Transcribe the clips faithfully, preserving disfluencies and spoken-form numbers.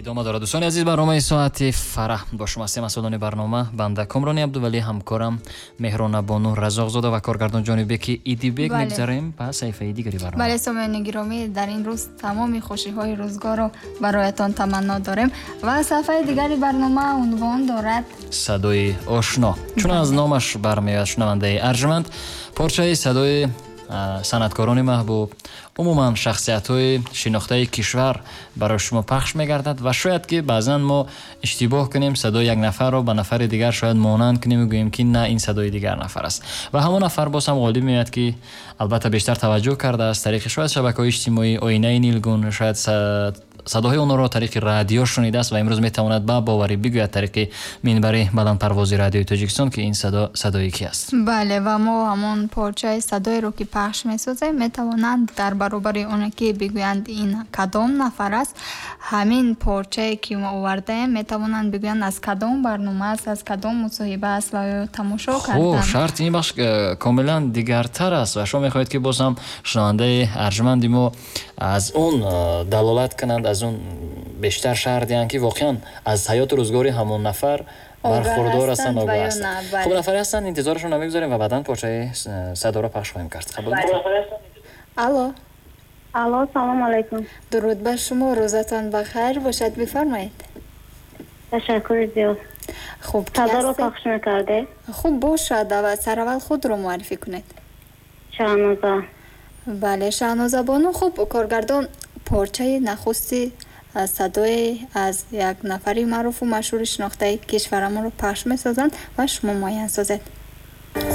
Идома дорад, дӯстони азиз, барномаи соати фараҳ. Бо шумо ҳастем масъулони барнома, банда Комрони Абдувалӣ, ҳамкорам Меҳронабону Разоқзода ва коргардон Ҷонибеки Идибек. Мегзарем ба саҳифаи дигари барнома. Бале, сомиёни гиромӣ, дар ин рӯз тамоми хушиҳои рӯзгорро бароятон таманно дорем ва саҳифаи дигари барнома унвон дорад Садои ошно. Чун аз номаш бармеояд, шунавандаи арҷманд, порчаи садои санъаткорони маҳбуб, умуман шахсиятҳои шинохтаи кишвар барои шумо пахш мегардад ва шояд ки баъзан мо иштибоҳ кунем, садои як нафарро ба нафари дигар шояд монанд кунем ва гӯем ки на, ин садои дигар нафар аст ва ҳамон нафар боз ҳам ғолиб меояд, ки албатта бештар таваҷҷӯҳ кардааст тариқи шояд шабакаҳои иҷтимоӣ, оинаи нилгун, шояд садоҳои онҳоро тариқи радио шунидааст ва имрӯз метавонад ба боварӣ бигӯяд тариқи минбари баландпарвози радиои Тоҷикистон, ки ин садо садои ки аст. Бале, ва мо ҳамон порчаи садоеро ки пахш месозем, метавонанд дар баробари оне ки бигӯянд ин кадом нафар аст, ҳамин порчае ки мо овардаем, метавонанд бигӯянд аз кадом барнома аст, аз кадом мусоҳиба аст ва ё тамошо карданд. Хуб, шарти ин бахш э, комилан дигартар аст ва шумо мехоҳед ки боз ҳам шунавандаи арҷманди мо аз он э, далолат кунанд, аз он бештар шарҳ диҳанд, ки воқеан аз ҳаёту рӯзгори ҳамон нафар бархурдор ҳастанд, огоҳ ҳастанд. Хуб, нафаре ҳастанд, интизорашон намегузорем ва баъдан порчаи садоро пахш хоҳем кард. Қабул? Алло. Алло, салом алайкум. Дуруд бар шумо, рӯзатон бахайр бошад, бифармоед. Ташаккур зиёд. Хуб, садоро пахш мекардед? Хуб бошад, сараввал худро муаррифӣ кунед. Шаҳноза. Бале, Шаҳноза бону. Хуб, коргардон порчаи нахусти садое аз як нафари маъруфу машҳури шинохтаи кишварамонро пахш месозанд ва шумо муайян созед.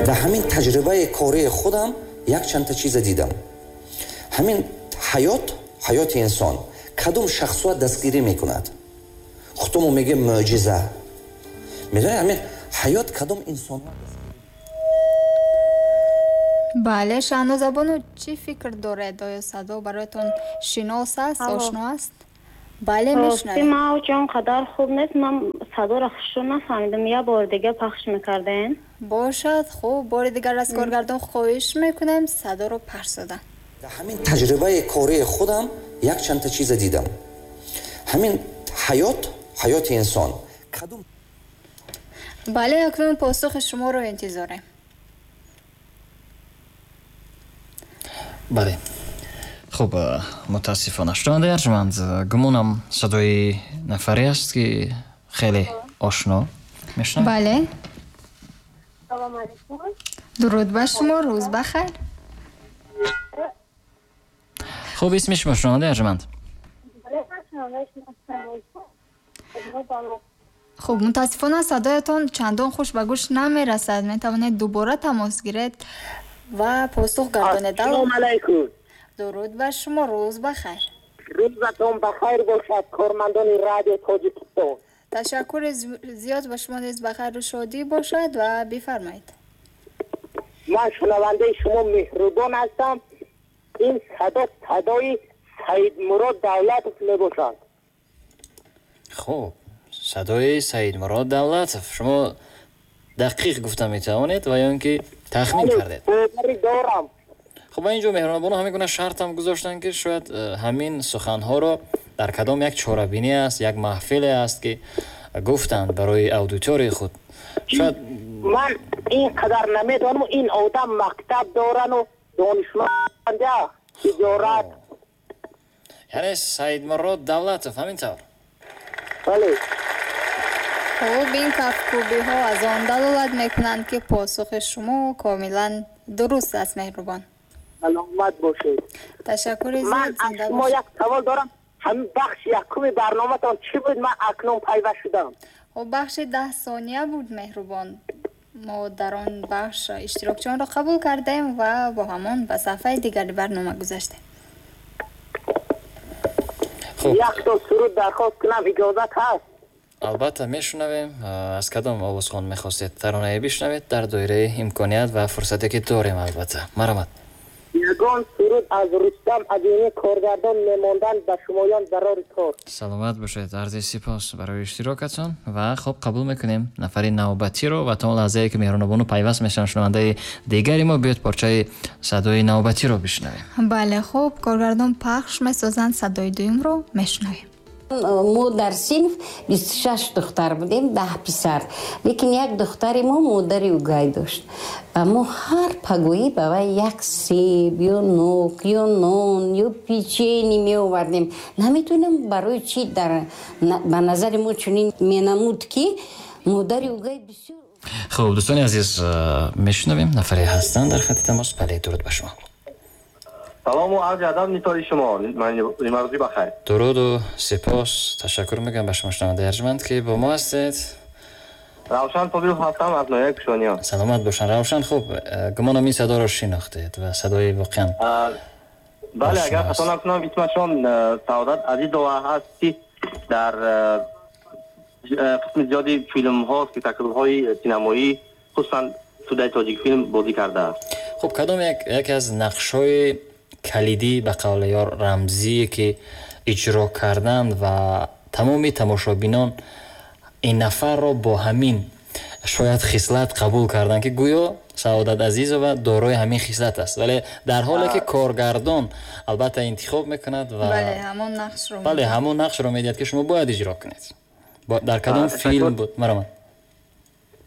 Дар ҳамин таҷрибаи кории худам якчандта чиза дидам. Ҳамин ҳаёт, ҳаёти инсон кадом шахсуа дастгирӣ мекунад? Худтомо мегӯем мӯъҷиза. Медонед, ҳамин ҳаёт кадом инсонҳо. Бале, Шаҳноза бону, чӣ фикр доред? Оё садо бароятон шинос аст, ошно аст? Бале, мешунавем. Ман он қадар хуб нест, ман садоро хушрӯ нафаҳмидам. Як бори дигар пахш мекардем. Бошад, хуб, бори дигар аз коргардон хоҳиш мекунем садоро пахш созанд. Дар ҳамин таҷрибаи кории худам якчандта чиза дидам. Ҳамин ҳаёт, ҳаёти инсон кадом. Бале, акнун посухи шуморо интизорем. Бале, хуб, мутаассифона, шунавандаи арҷманд, гумонам садои нафаре аст, ки хеле ошно мешунавед. Бале. Салом алайкум. Дуруд ба шумо, рӯз бахайр. Хуб, исми шумо, шунавандаи арҷманд? Хуб, мутаассифона садоятон чандон хуш ба гӯш намерасад. Метавонед дубора тамос гиред ва посух гардонед. Ассалому алайкум. Дуруд ба шумо, рӯз бахайр. Рӯзатон бахайр бошад, кормандони радио Тоҷикистон. Ташаккури зиёд, ба шумо низ бахайру шодӣ бошад ва бифармоед. Ман шунавандаи шумо меҳрубон ҳастам. Ин садо садои Саидмурод Давлатов мебошад. Хуб, садои Саидмурод Давлатов. Шумо дақиқ гуфта метавонед ва ё ин ки тахмин кардед? Боварӣ дорам. Хуб, ба инҷо меҳрубонабону ҳамин гуна шартам гузоштанд, ки шояд ҳамин суханҳоро дар кадом як чорабинӣ аст, як маҳфиле аст, ки гуфтанд барои аудиторияи худ. Шояд ман ин қадар намедонам, ин одам мактаб дорану донишманда, тиҷорат. Яъне Саидмурод Давлатов, ҳамин тавр? Бале. Хуб, ин кафкӯбиҳо аз он далолат мекунанд, ки посухи шумо комилан дуруст аст, меҳрубон. Саломат бошед. Ташаккури зиёд. Ман аз шумо як савол дорам. Ҳамин бахши якуми барноматон чӣ буд? Ман акнун пайваст шудам. Хуб, бахши даҳ сония буд, меҳрубон. Мо дар он бахш иштирокчиёнро қабул кардем ва бо ҳамон ба саҳифаи дигари барнома гузаштем. Якто суруд дархост кунам, иҷозат ҳаст? Албатта, мешунавем. Аз кадом овозхон мехостед таронае бишунавед дар доираи имконият ва фурсате ки дорем, албатта. Марҳамат. Ягон суруд аз Рустам Азимӣ, коргардон мемонданд ба шумоён барори кор. Саломат бошед, арзи сипос барои иштирокатон ва хуб, қабул мекунем нафари навбатиро ва то он лаҳзае ки меҳрубонабону пайваст мешаванд шунавандаи дигари мо, биёд порчаи садои навбатиро бишунавем. Бале, хуб, коргардон пахш месозанд, садои дуюмро мешунавем. Мо дар синф бисту шаш духтар будем, даҳ писар. Лекин як духтари мо модари угай дошт ва мо ҳар пагоҳӣ ба вай як себ ё нок ё нон ё печени меовардем. Наметонам барои чӣ дар ба назари мо чунин менамуд, ки модари угай бисёр. Хуб, дӯстони азиз, мешунавем, нафаре ҳастанд дар хати тамос. Бале, дуруд ба шумо. Салому арзи адаб нисори шумо, нимарӯзӣ бахайр. Дуруду сипос, ташаккур мегӯям ба шумо, шунавандаи арҷманд, ки бо мо ҳастед. Равшан Собиров ҳастам аз ноҳияи Кушониён. Саломат бошанд, Равшан. Хуб, гумонам ин садоро шинохтед ва садои воқеан. Бале, агар хато накунам, исмашон Саодат Азизова ҳаст, ки дар қисми зиёди филмҳо, спектаклҳои синамоӣ, хусусан студияи Тоҷикфилм бозӣ кардааст. Хуб, кадом яке аз нақшҳои калидӣ, ба қавли ёр рамзие, ки иҷро карданд ва тамоми тамошобинон ин нафарро бо ҳамин шояд хислат қабул карданд, ки гӯё Саодат Азизова дорои ҳамин хислат аст, вале дар ҳоле ки коргардон албатта интихоб мекунад ва бале, ҳамон нақшро бале, ҳамон нақшро медиҳад, ки шумо бояд иҷро кунед. Дар кадом филм буд? Маромад.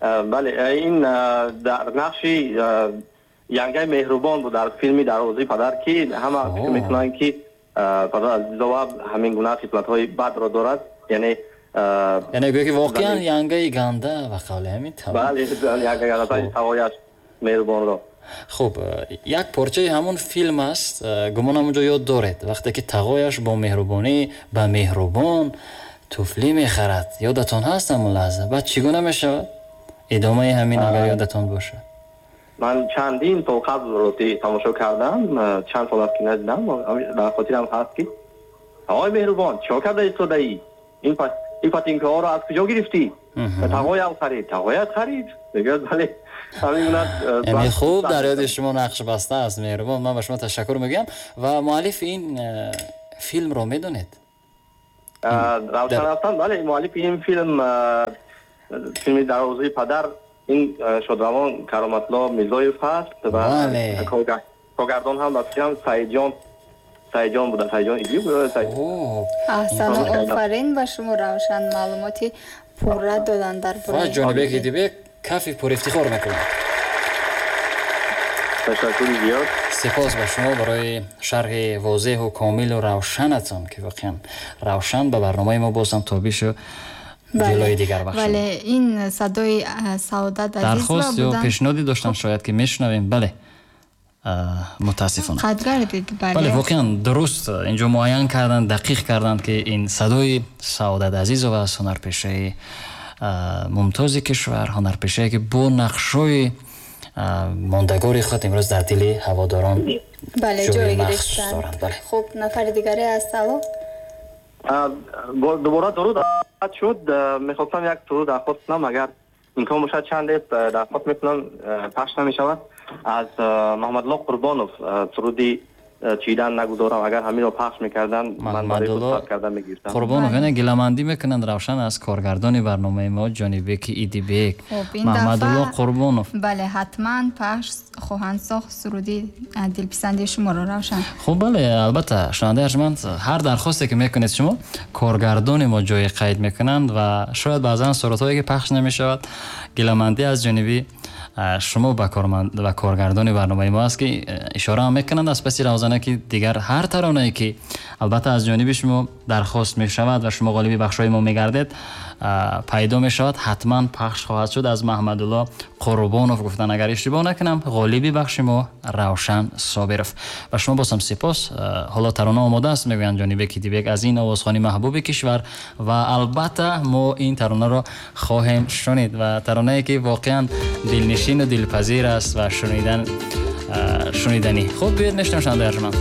Бале, ин дар нақши янгаи меҳрубон буд дар филми Дарвозаи падар, ки ҳама фикр мекунанд, ки падар Азизова ҳамин гуна хислатҳои бадро дорад, яъне яъне гӯё ки воқеан янгаи ганда ба қавли ҳамин. Бале, янгаи ганда тағояш меҳрубонро. Хуб, як порчаи ҳамон филм аст, гумонам онҷо ёд доред, вақте ки тағояш бо меҳрубонӣ ба меҳрубон туфлӣ мехарад. Ёдатон ҳаст ҳамон лаҳза? Баъд чӣ гуна мешавад идомаи ҳамин, агар ёдатон бошад? Ман чандин сол қабл рости тамошо кардам, чанд сол аст ки надидам, дар хотирам ҳаст, ки тағои меҳрубон, чико карда истодаӣ? Ин ин патинкаҳоро аз куҷо гирифтӣ? Тағоям харид. Тағоят харид? Мегӯяд бале. Яъне хуб дар ёди шумо нақш баста аст меҳрубон. Ман ба шумо ташаккур мегӯям. Ва муаллифи ин филмро медонед? Равшан ҳастам, бале, муаллифи ин филм, филми Дарвозаи падар, ин шодравон Кароматло Мирзоев ҳаст ва коргардон ҳам ба фикрам Саидҷон Саидҷон буда, Саидҷон Идиев. Аҳсан, офарин ба шумо, Равшан, маълумоти пурра додан дар бораи. Ва Ҷонибек Идибек кафи пурэфтихор мекунад. Ташаккури зиёд. Сипос ба шумо барои шарҳи возеҳу комилу равшанатон, ки воқеан равшан ба барномаи мо бозам тобишу ҷилои дигар бахшид. Бале, ин садои Саодат Азизова дархост ё пешниҳоде доштам, шояд ки мешунавем. Бале, мутаассифона қадр гардид. Бале, бале, воқеан дуруст инҷо муайян карданд, дақиқ карданд, ки ин садои Саодат Азизова аст, ҳунарпешаи мумтози кишвар, ҳунарпешае ки бо нақшҳои мондагори худ имрӯз дар дили ҳаводорон ҷои махсус доранд. Бале. Хуб, нафари дигаре аст. Алло, дубора дуруд шуд. Мехостам як суруд дархост кунам, агар имкон бошад чанде дархост мекунам, пахш намешавад, аз Маҳмадулло Қурбонов суруди чидан нагузорам, агар ҳаминро пахш мекарданд, ман барои худ карда мегирифтам. Қурбонов, яъне гиламандӣ мекунанд Равшан аз коргардони барномаи мо Ҷонибек Идибек. Маҳмадулло Қурбонов. Бале, ҳатман пахш хоҳанд сохт суруди дилписанди шуморо, Равшан. Хуб, бале, албатта, шунавандаи арҷманд, ҳар дархосте ки мекунед шумо, коргардони мо ҷои қайд мекунанд ва шояд баъзан сурудҳое ки пахш намешавад, гиламандӣ аз ҷониби шумо ба коргардони барномаи мо аст, ки ишора ҳам мекунанд аз паси равзана, ки дигар ҳар таронае ки албатта аз ҷониби шумо дархост мешавад ва шумо ғолиби бахшҳои мо мегардед, пайдо мешавад, ҳатман пахш хоҳад шуд. Аз Маҳмадулло Қурбонов гуфтан, агар иштибоҳ накунам, ғолиби бахши мо Равшан Собиров. Ба шумо бозам сипос. Ҳоло тарона омода аст, мегӯянд Ҷонибек Идибек аз ин овозхони маҳбуби кишвар, ва албатта мо ин таронаро хоҳем шунид ва таронае ки воқеан дилнишину дилпазир аст ва шунидан шуниданӣ. Хуб, биёед мешунавем, шунавандаи арҷманд.